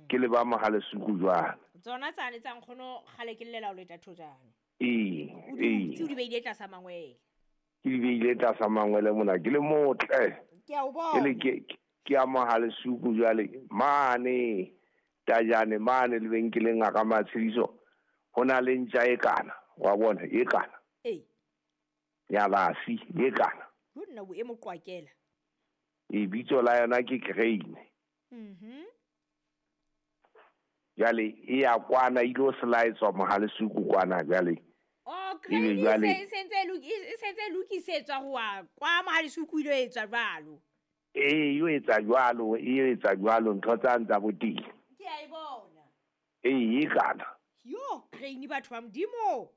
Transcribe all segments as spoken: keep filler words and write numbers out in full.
Ke le ba Mohalesuku jwale. Tsona tsane tsa nkgono kgale ke llela o leta thojana. Ee, O di ee. hutse, o di beile tlasa mangwele. Ke di beile tlasa mangwele mona ke le motle. Ke a o Ke le bona. ke ke ya Mohalesuku jwale mane Tajane mane lebenkeleng a ka Matshediso ho na le ntja e kana wa bona e kana Ee. ya basi e kana Jo nna bo e mo qwakela. e bitso la yona ke Crane. Mhm. Jwale e ya kwana e ilo selaetswa Mohalesuku kwana jwale. Oh, Ebe Crane e jwale- se- e sentse e loki- e sentse e lokisetswa ho wa kwa Mohalesuku ile etswa jwalo. Ee, e etsa jwalo, e etsa jwalo ntho tsa ntsa boteng. Ke a e bona. Ee, e kana. Yo, Crane batho ba Modimo.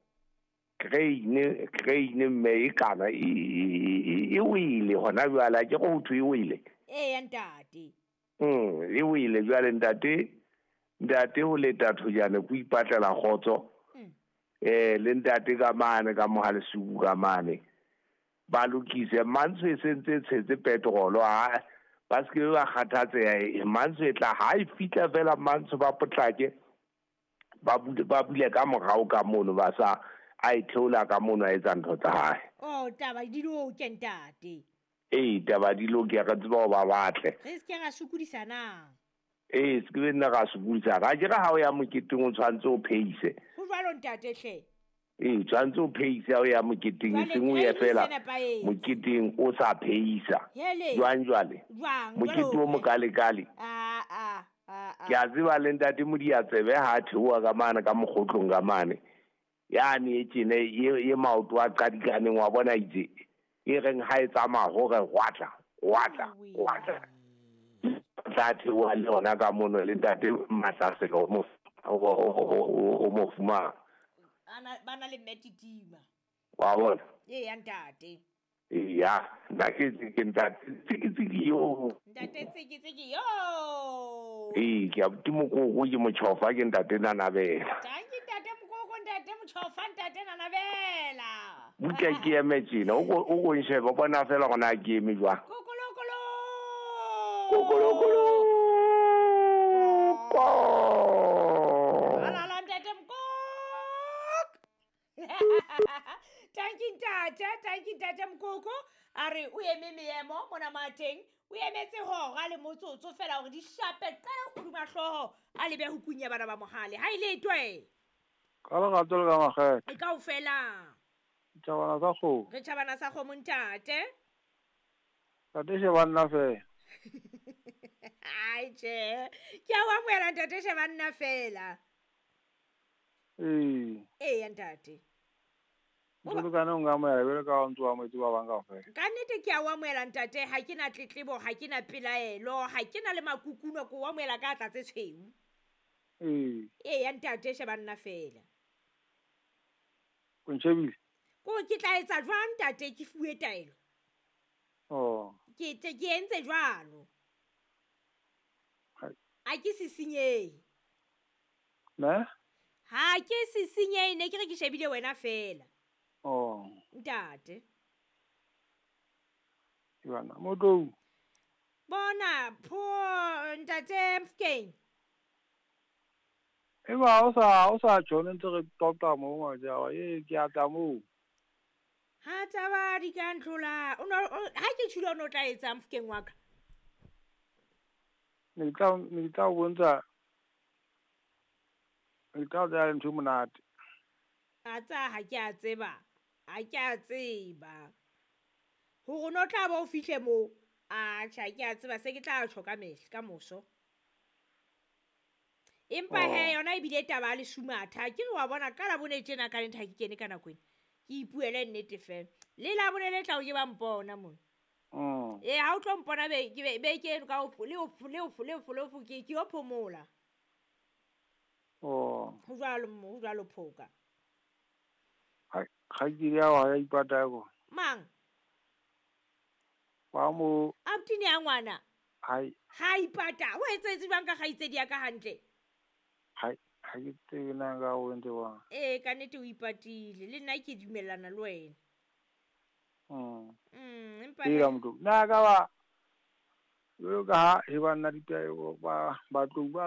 Crane, Crane mme e kana e e- e wele hona jwale ha ke go thwe e wele. Ee, ntate. Mm, e wele jwale ntate, ntate ho leta thojana ko ipatlela kgotso. Mm. Eh, le ntate ka mane ka Mohalesuku ka mane. Ba lokise Mantsho e sentse e tshetse petrol ha ba se ke ba kgathatseha Mantsho e tla ha e fihla fela Mantsho ba potlake ba bule ba bule ka morao ka mono ba sa a e theola ka mono a etsa ntho tsa hae. Oh, taba di loke ntate. Ee, taba di loke re tseba ho ba batle. Re se ke ra sokodisanang. Ee, se ke be nna ra sokodisana. Ha ke re ha o ya moketeng o tshwantse o pheise. Ho jwalo ntate hle. Ee, tshwantse o pheise ha o ya moketeng Jwale eseng o ye Crane e fela se nepahetse. moketeng o sa pheisa. Hele. Jwang jwale? Jwang? Mokete Jwale o mokalekale. Ah, ah, ah, ah. Ke a tseba le ntate Modiatsebe ha a theoha ka mane ka mokgotlong ka mane. Yane e tjena e e maoto a qadikaneng wa bona itse. E reng ha e tsamaya hore hwatla, hwatla, hwatla. Tla theoha le yona ka mono le ntate Mahlasela o mo o o o mo fumana. Ana ba na le mme Titima. Wa bona? Ee, ya ntate. Eya, nna ke ke ntate Tsikitsiki yo. Ntate Tsikitsiki yo. Ee, ke a ke mokoko ke motjhofa ke ntate Nanabela. Tanki ntate mokoko ntate motjhofa ntate Nanabela. Butle ke eme tjena, o ko o ko nshebe o bona fela hore na ke eme jwang. Kokolokolo. Kokolokolo. Ko. Alala ntate mokoko. Tanki ntate, tanki ntate mokoko. A re o eme meemo mona mateng, o emetse hora le motsotso fela hore di shape qe hodima hlooho a lebe ho kunya bana ba Mohale. Ha ile twe. Ka lerato le ka makgethe. E kaofela. Tjhabana sa kgomo. Re tjhabana sa kgomo ntate. Ntate sheba nna fela. Ai tjhe. Ke a o amohela ntate sheba nna fela. Ee. Ee ntate. Jwalo ka ne o nkamohela jwalo ka ha o ntso amohetse ba bang kaofela. Ka nnete ke a o amohela ntate, ha ke na tletlebo, ha ke na pelaelo, ha ke na le makukuno, ke o amohela ka atla tse tshweu. Ee. Ee ntate sheba nna fela. O ntjhebile? Ko ke tla etsa jwang ntate ke fuwe taelo? Oh. Ke te ke entse jwalo. Hai. A ke sisinyehe. Ne? Ha ke sisinyehe, ne ke re ke shebile wena fela. Oh. Ntate. Bana, Motlou. Bona, pho ntate Mofokeng. Eba o sa o sa tjho ne ntse re qoqa moo ngwaja wa e ke a tla moo. Ha taba di ka ntlola. O no ha ke tjhilo o no tla etsa Mofokeng wa ka. Ne ke tla ne ke tla o bontsha. Ne ke tla o tsaya ntho e monate. A tsa ha ke a tseba. Ha ke a tseba. Hore no tla ba o fihle moo. A tjha ke a tseba se ke tla tjho ka mehla ka moso. Empa Oh. he yona ebile taba ya lesumatha. Ke re wa bona ka Labone tjena ka nnete ha ke kene ka nako ena. Ke ipuele nnete fela. Le Labone le tla o ke ba mpona mona. Mm. Ee, ha o tlo mpona be ke be be ke eno ka o le o le o le o le o ke ke yo phomola. Oh. Ho jwalo mo, ho jwalo phoka. Ha kgaitsedi ya hao ha ya ipata ya kona. Mang? Wa mo Abuti ya ngwana. Hai. Ha ipata. O etsetse jwang ka kgaitsedi ya ka hantle? Hai, ha ke tsebe na ka o entse jwang. Ee, ka nnete o ipatile. Le nna ke dumellana le wena. Mm. Mm, empa Ee, he- motho. Na ka ba jwalo ka ha e ba nna ditaelo ba ba tlou ba